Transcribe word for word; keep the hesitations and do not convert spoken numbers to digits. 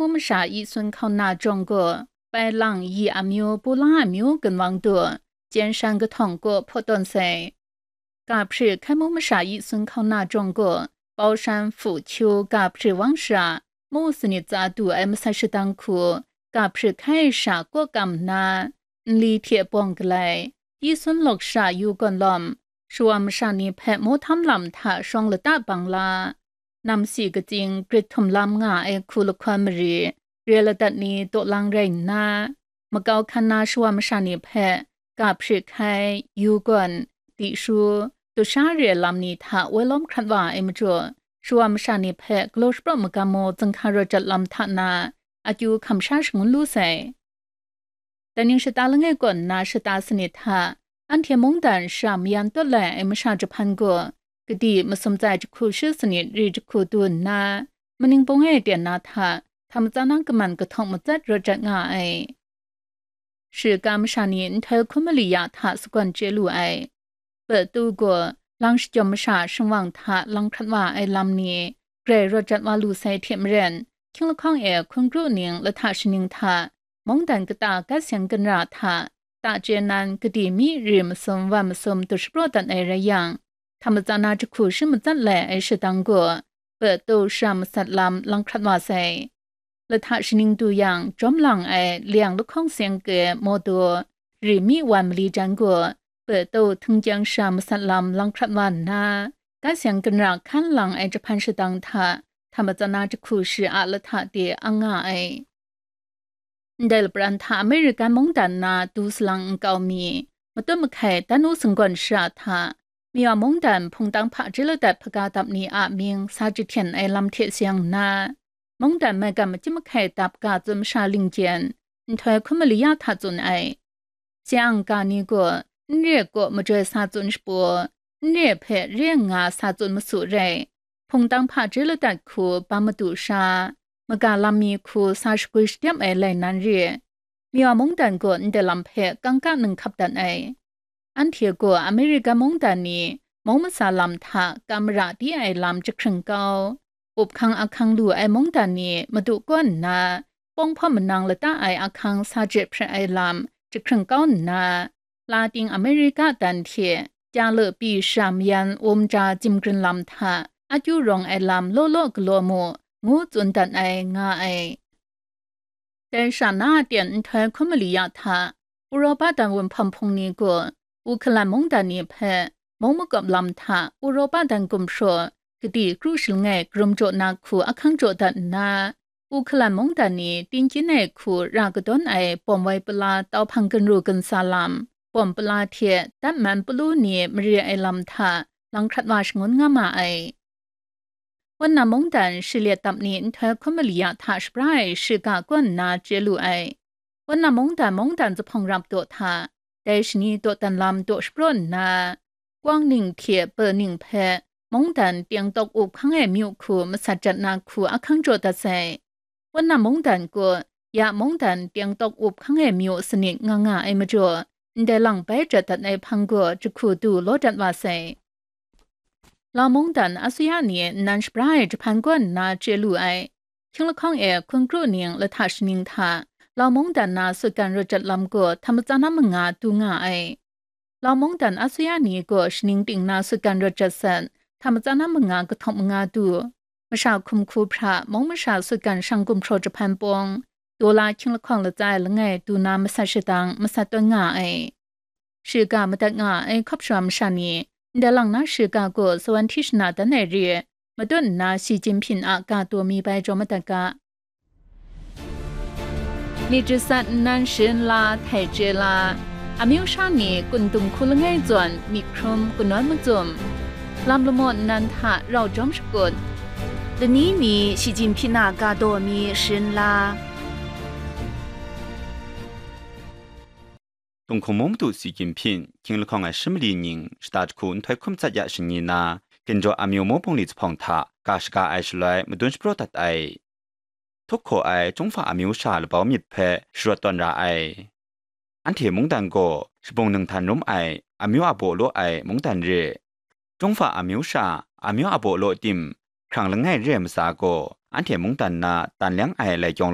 mu masha yi sun hkauna jawng gaw, pai lang yi amyu, pu la amyu ginwang du, jen shan kahtawng kaw hpaw tawn sai. Ga hpri hkai mu masha yi sun hkauna jawng gaw, pau shan hpu hkyu ga hpri wang shara, mu sanit tsa du ai masat shadang hku, ga hpri hkai sha kaw kam nna, nli hte bawng galai, yi sun lawk sha yu gawn lawm, shawa masha ni hpe mawhtam lam hta shawng lata bang la, namsi katsing grit htum lam nga ai hku lahkawn mari, re ladat ni daw lang rai nna, makau hkan na shawa masha ni hpe ga hpri hkai, yu gawn, di shu, dusha re lam ni hta woi lawm hkrat wa ai majaw, shawa masha ni hpe galaw shapraw magam mu zinghka rawt jat lam hta na, akyu hkam sha shangun lu sai. Dai ning shata langai kaw nna shata sanit hta, anhte mungdan shara mayan tawt lai ai masha jahpan gaw, kadi masum tsai jahku shi sanit ri jahku du nna, maning bung e ten na hta, hta matsan na kaman kahtawng matsat rawt jat nga ai. Shiga masha ni nhtoi hkun mali ya hta sagawn chye lu ai. Petu gaw, lang shajawm masha shingwang hta lang hkrat wa ai lam ni, grai rawt jat wa lu sai hte maren, hkying lahkawng e hkun kru ning lahta shaning hta, mungdan kata gat seng ginra hta, ta chye nan kadi mi ri masum wan masum du shapraw dat ai rai yang, hta matsan na jahku shi matsat lai ai shadang gaw, petu shara masat lam lang hkrat wa sai. Lahta shaning du yang, jawm lang ai leng lahkawng seng ke mawdaw, ri mi wan mali jan gaw, petu htingkyang shara masat lam lang hkrat wa nna, gat seng ginra hkan lang ai jahpan shadang hta, hta matsan na jahku shi a lahta de ang nga ai. Ndai lapran hta American mungdan na du salang nkau mi, matut mahkai dan u singgawn shara hta, Miwa mungdan hpungtang hpaji ladat hpaga dap ni a mying sa jahten ai lam hte seng nna, mungdan maigan majim mahkai dap ga tsun masha lingjen, nhtoi hkun mali ya hta tsun ai. Siang ga ni gaw, n re kaw majoi sa tsun shapaw, n re hpe re nga sa tsun masu rai, hpungtang hpaji ladat hku bam madu sha, maga lam mi hku sa shagwi shadep ai lai nan re. Miwa mungdan gaw ndai lam hpe kangka ninghkap dat ai. Anhte gaw Amerika mungdan ni mung masa lam hta kam mara di ai lam jahkring kau, up hkang ahkang lu ai mungdan ni madu kaw nna, pawng hpawm manang lata ai ahkang sa je hpre ai lam jahkring kau nna, Latin Amerika dan hte Jalupi shara mayan wum ja zimgrin lam hta akyu rawng ai lam law law galaw mu, ngu tsun dat ai nga ai. Dai sha na a ten nhtoi hkun mali ya hta, Uropa dan wunhpawm hpung ni gaw, Ukhalan mungdan ni hpe, mung makawp lam hta Uropa dan gumhpraw, kadi kru shalangai karum jaw na hku ahkang jaw dat nna, Ukhalan mungdan ni tingkyin ai hku ra kadawn ai bawm wai pala tau hpang ginru ginsa lam, bawm pala hte dat man palu ni mare ai lam hta lang hkrat wa shangun nga ma ai. Wunna mungdan shi let dap ni nhtoi hkun mali ya hta shabra ai shiga kaw nna chye lu ai. Wunna mungdan, mungdan zuphpawng rap daw hta, dai shani dawdan lam daw shapraw nna, kwang ning hte pe ning hpe mungdan teng tawk up hkang ai myu hku masat jat na hku ahkang jaw dat sai. Wunna mungdan gaw, ya mungdan teng tawk up hkang ai myu sanit nga nga ai majaw, ndai lang bai jat dat ai hpang gaw jahku du law dat wa sai. Lau mungdan asuya ni nnan shabra ai jahpan kaw nna chye lu ai. Hkying lahkawng e hkun kru ning lahta shaning hta, Lau mungdan na sutgan rawt jat lam gaw hta matsan na manga du nga ai. Lau mungdan asuya ni gaw shaning ting na sutgan rawt jat sat, hta matsan na manga kahtawng manga du. Masha hkum hku hpra, mung masha sutgan shang gumhpraw jahpan pawng, daw la hkying lahkawng latsa ai langai du na masat shadang, masat tawn nga ai. Shiga madat nga ai hkawp shawa masha ni, ndai lang na shiga gaw sawan hti shana dan ai re, matut nna Xi Jinping a ga taw mi bai jaw madat ga. Myit jasat nnan sharin la, htai chye la, amyu sha ni kun dum hku langai zawn myit hkrum kanawn macum, lam lamaw nnan hta rau jawm shakut, lani ni Xi Jinping a ga taw mi sharin la. Tunghkung mung madu Xi Jinping, hkying lahkawng ai shi mali ning, shata jahku nhtoi hkum tsat ya shani na, ginjaw amyu mung bungli zuphpawng hta ga shaga ai shaloi madun shapraw dat ai. Htup hkaw ai Chyungfa amyu sha labau myit hpe sharawt tawn ra ai. Anhte mungdan gaw shabung ninghtan rum ai, amyu a baw law ai mungdan re. Chyungfa amyu sha, amyu a baw law tim, hkrang langai re ai matsa gaw, anhte mungdan na tan leng ai lai kyawng